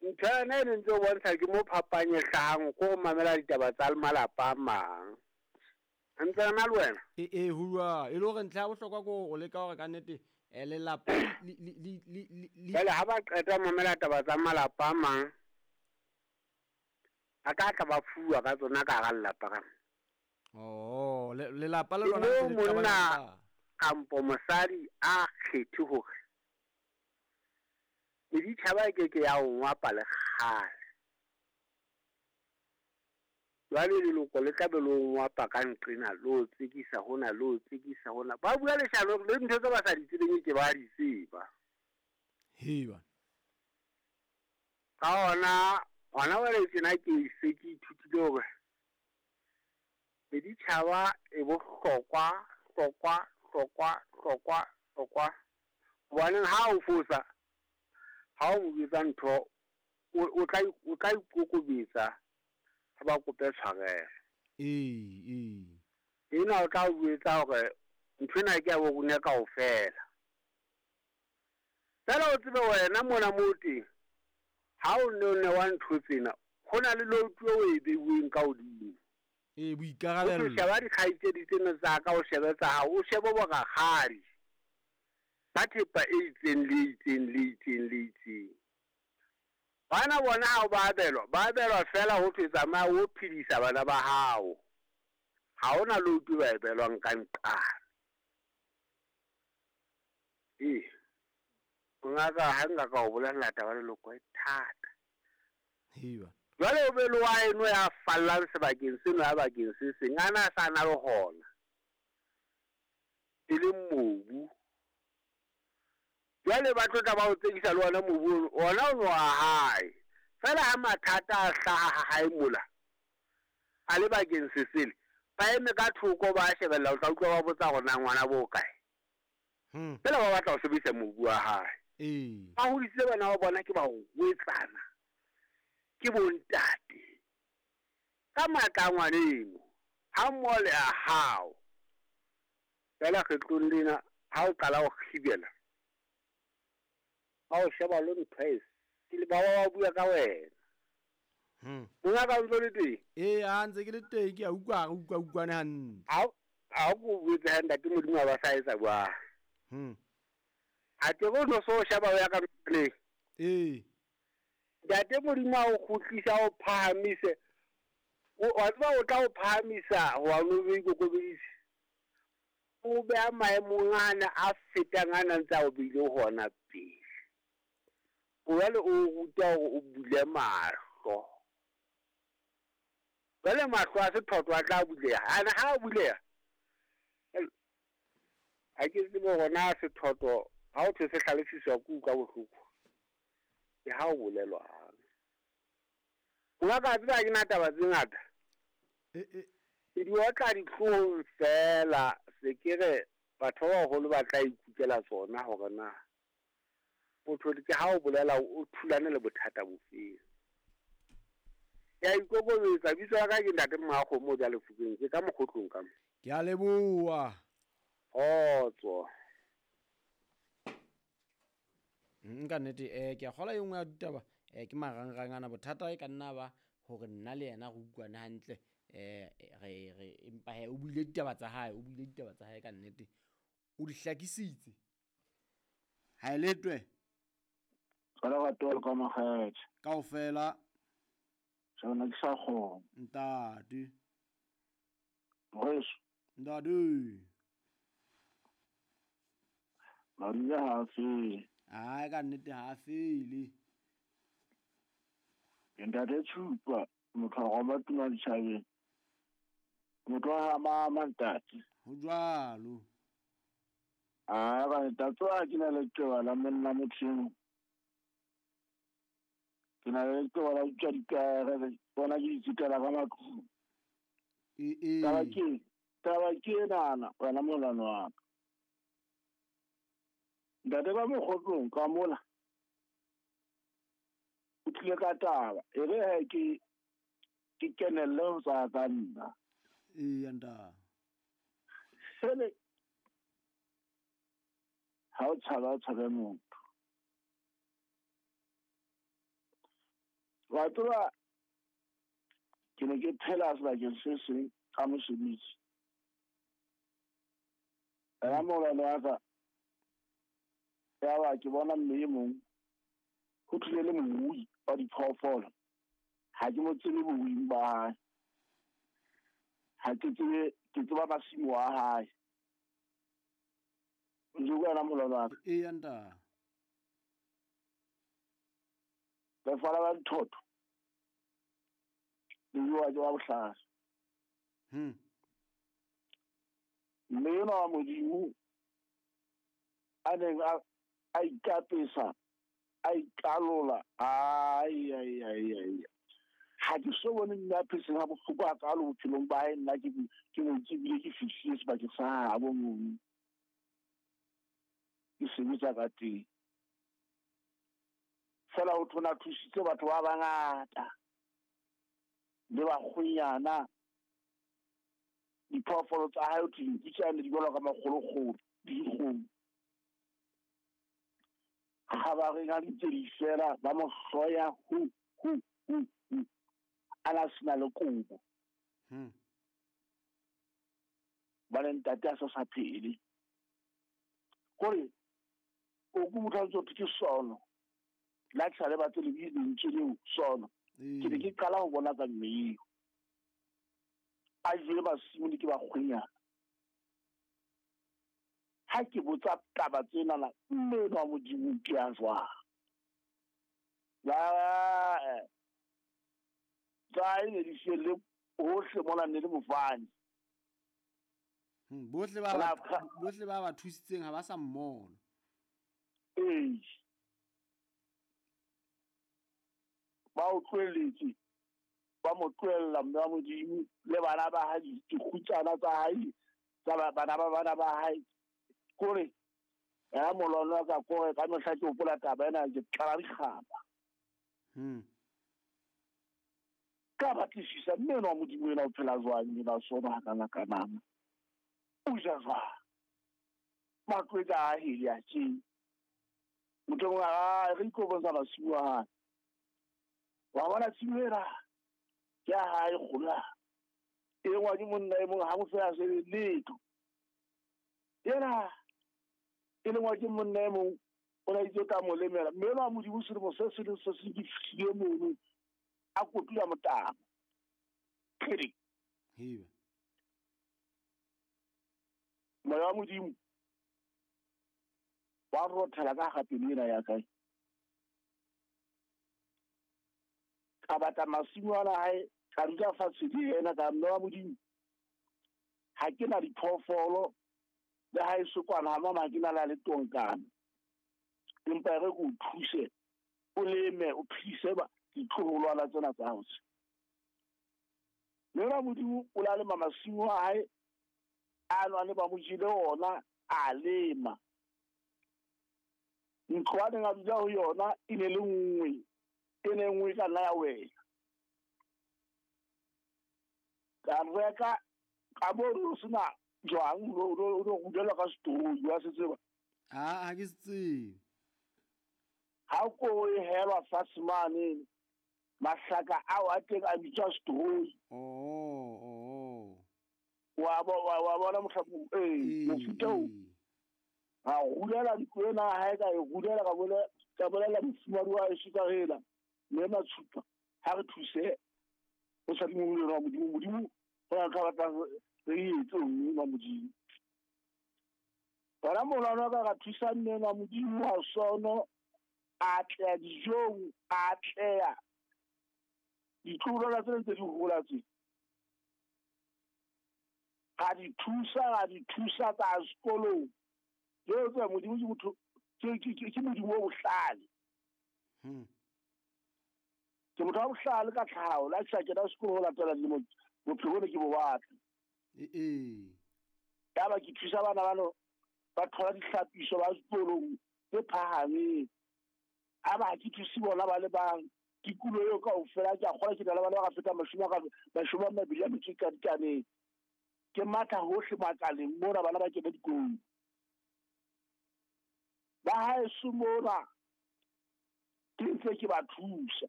Ntho yona e ne ntse o bontsha ke mo phapang e hlahang ko go mamela ditaba tsa malapa a mang. Ntse re na le wena? E ho jwalo. E le hore ntlha ya bohlokwa ke hore o leka hore ka nnete lelapa le Jwale ha ba qeta ho mamela taba tsa malapa a mang, a ka tla ba fuwa ka tsona ka hara lelapa ka. Oh, lelapa le Ke lona moo ntse le qabana monna ka. kampo mosadi a kgethe hore meditjhaba e keke ya o ngwapa le kgale. Jwale leloko le tla be le o ngwapa ka nqena, le o tsekisa hona, le o tsekisa hona. Ba bua leshano le ntho tse ba sa di tsebeng ke ba di tseba. Hei bana. Ka hona, hona jwale tjena ke se ke ithutile hore meditjhaba e bohlokwa, hlokwa, hlokwa, hlokwa, hlokwa. Hobaneng ha o fosa, ha o mo jwetsa ntho, o tla ikokobetsa ha ba kope tshwarelo. Ee. Ena o tla o jwetsa hore nthwena ke ya bo rona kaofela. Feela o tsebe wena mona moo teng, ha o ne o newa ntho tsena, ho na le lotu eo e beuweng ka hodimo. Ee, boikarabelo. O sheba dikgaitsedi tsena tsa ka, o shebe tsa hao, o shebe borakgadi ka thepa e itseng le itseng le itseng le itseng. Bana bona ha ba abelwa, ba abelwa fela ho thwe tsamaya o phedisa bana ba hao. Ha hona lotu ba e belwang ka nqane. Ee, mongaka ha nka ka o bolella taba leloko e thata. Hei bana. Jwale o be le wa eno ya fallang sebakeng seno ya bakeng se seng, a na sa na le hona. E leng mobu. Jwale ba tlo tla ba o tsekisa le ona mobu ono, ona o no wa hae. Feela ha mathata a hlaha ha hae mola, a le bakeng se sele, ba eme ka thoko ba shebella, o tla utlwa ba botsa hore na ngwana bo kae. Feela ba batla ho sebedisa mobu wa hae. Ee. Ba hodisitse bana ba bona ke ba rwetsana, ke bontate. Ka matla a ngwaneno, ha mmoho le a hao. Feela kgetlong lena, ha o qala ho kgibela, ba o sheba le ntho e sele, ba ba bua ka wena. Mongaka o ntso le teng? Ee, ha ntse ke le teng, ke a utlwa, re utlwa utlwane hantle. Ha o ko botse ha ntate Modimo a ba sa etsa jwang. Ha ke re o no so sheba o ya ka ntlong. Ee. Ntate Modimo a o kgutlisa, o phahamise. Wa tseba o tla o phahamisa ho wa no be ikokobeditse. O beha maemong ana a fetang ana ntse a o beile hona pele. Jwale o ruta hore o bule mahlo. Jwale mahlo a sethotho a tla buleha. Ana ha a buleha, ha ke tsebe hore na sethotho ha o thwe se hlalefiswa ke utlwa bohloko. Ke ha o bolelwang. Mongaka a tseba ha ke na taba tse ngata. Ke di otla dihloohong fela, se ke re batho ba baholo ba tla ikutlwela tsona hore na motho ke ha o bolela o thulane le bothata bofeng. Ke a ikokobetsa, bitso la ka ke ntate Mmakgomo ja Lefokeng, ke ka mokgotlong ka mo. Ke a leboha. Kgotso. Nka nnete, ke a kgolwa e nngwe ya ditaba, ke marangrang ana, bothata e ka nna ba hore nna le yena re utlwane hantle, re empa he o buile ditaba tsa hae, o buile ditaba tsa hae ka nnete, o di hlakisitse. Ha e letwe. Tswala wa tolo ka makgethe. Kaofela. Sona ke sa kgona. Ntate. Moreso. Ntate. Maria ha a fele. Ai, ka nnete ha a fele. Ke ntate Tshupa, motho wa roma tuma ditjhabeng. Motho wa ha mama ntate. Ho jwalo. Ah, ba ntate wa ke na le leqeba la monna motho eo. Ke na le leqeba la utswa ditaere, bona ke itsutela ka matlung. E. Taba ke enana, wena molano wa ka. Ntate ba mokgotlong ka mola. O tlile ka taba, e re he ke kenelle ho tswa ka nna. Ee, ntate. Sele ha o tshaba, o tshabe motho. Wa tseba ke ne ke phela sebakeng se seng ka mosebetsi. Ena molwana wa ka ya ba ke bona mme e mong ho tlile le morui wa diphoofolo. Ha ke mo tsebe boruing ba hae. Ha ke tsebe, ke tseba masimo a hae. O ntso utlwa wena molwana wa ka? Eya ntate. Lefa la dithotho le jewa ke ba bohlale. Mme enwa wa Modimo a neng a ikapesa, a ikalola, ai ai ai ai. Ha ke so bone mme a phetseng ha bohloko hakalo bophelong ba hae, nna ke mo tsebile ke fihlile sebakeng sa habo mono. Ke sebetsa ka teng. Feela ho thona thusitse batho ba bangata le bakgwenyana. Diphoofolo tsa hae ho thwe dinku tsane di balwa ka makgolokgolo le dikgomo. Kgabareng ha di ntse di fela ba mo hloya hu hu hu hu. A na sena le kobo. Ba le ntate a sa phele. Kore o ko motho a ntse ho thwe ke sono. La ke sa le batle lentswe leo sono. Ke ne ke qala ho bona ka mme eo. A jele masimo le ke bakgwenyana. Ha ke botsa taba tsenana, mme enwa wa Modimo ke ya jwang? La tsa hae ne di felle hohle mona ne le mofani. Bohle ba thusitseng ha ba sa mmona. Ee. Ba o tlohelletse, ba mo tlohella mme wa Modimo le bana ba hae, dikgutsana tsa hae, tsa bana ba bana ba hae. Kore ya molwana wa ka kore ka mehla ke hopola taba ena ke tlala dikgaba. Ka batlisisa mme enwa wa Modimo ena o phela jwang ena sona hakana kanana. O ja jwang? Matlo e ka a hele a tje. Motho mongwe a re itlo bontsha masimo a hae. Wa bona tshimo ena ke ya hae kgolo. E ngwa ke monna e mong ha mo fela se letho. Ena e lengwa ke monna e mong o na itse ka mo lemela. Mme enwa Modimo selemo se se leng se se ke fihlile mono a kotula motabo. Kgele. Heba. Moya wa Modimo wa rothela ka hara pelo ena ya kae. Ka batla masimo ana hae, ka dula fatshe le yena ka mme wa Modimo. Ha ke na diphoofolo le ha e se kwana ha mama ke na le tonkana. Empa re go thuse o leme o phise ba ditloholwana tsena tsa hao. Mme wa Modimo o la lema masimo a hae a nwane ba mo jele ona a lema. Ntlo a neng a dula ho yona e ne le nngwe, e ne nngwe ka nna ya wela. Ka reka ka bo o sena jwang o rudelwa ka setoroi wa se tseba. Ha ke se tsebe. Ha ko e helwa fatshe mane mahlaka ao a teng a bitswa setoroi. Oh. Wa bona mohlapong mofuta o. A rulela ntlo ena hae ka e rulela ka bolela mofumadi wa heso ka hela mme Matshupa ha re thuse o sa dimong wa Modimo. Modimo o na ka batla re etse mme wa Modimo. Bana molwana ka ra thusa mme wa Modimo wa sono a tla dijong a tla ditloholwana tse ntse di hola tse. Ga di thusa tsa sekolong. Leo tsa Modimo ke motho ke Modimo wa bohlale. Ke motho wa bohlale ka tlhaho, la sa kena sekolo ho latela dilemo bophelo bo ke bo batla. Ee. Ya ba ke thusa bana bano ba thola dihlapiso ba sekolong tse phahameng. A ba ke thuse bona ba le bang dikulo eo kaofela ke a kgola ke na le bana ba ka feta mashome a mabedi a metso e kadikaneng. Ke matla hohle makaleng mona bana ba kena dikolong. Ba haeso mona ke ntse ke ba thusa.